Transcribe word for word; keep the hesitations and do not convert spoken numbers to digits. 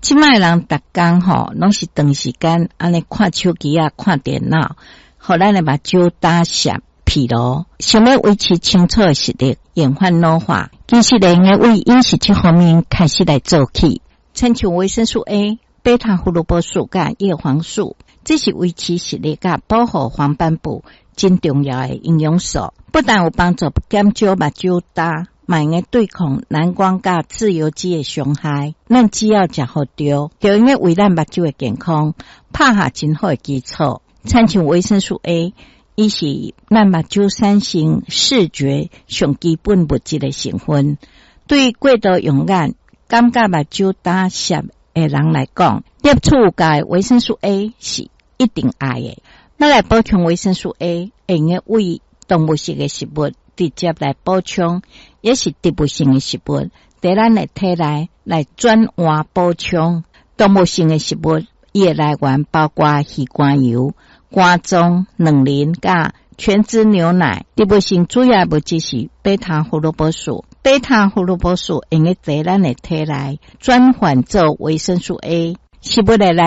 這擺人逐工吼，攏是長時間按呢看手機仔、看電腦，予咱的目睭焦澀、疲勞。想欲維持清楚的視力，延緩老化，其實會用得為飲食這方面開始來做起。親像維生素 A、貝塔胡蘿蔔素佮葉黃素，這是維持視力佮保護黃斑部真重要的營養素。不但有幫助減少目睭焦，嘛會用對抗藍光佮自由基的傷害。咱只要食予著，就會用為咱目睭的健康拍下真好的基礎。親像維生素 A，伊是咱目睭產生視覺上基本物質的成分。對過度用眼、感覺目睭焦澀的人來講，攝取有夠的維生素 A 是一定愛的。欲來補充維生素 A，會用得為動物性的食物直接來補充，抑是植物性的食物，佇咱的體內來轉換補充。動物性的食物，伊的來源包括魚肝油、肝臟、卵磷佮全脂牛奶。植物性主要物質是貝塔胡蘿蔔素，貝塔胡蘿蔔素會用得佇咱的體內轉換做維生素 A。食物的來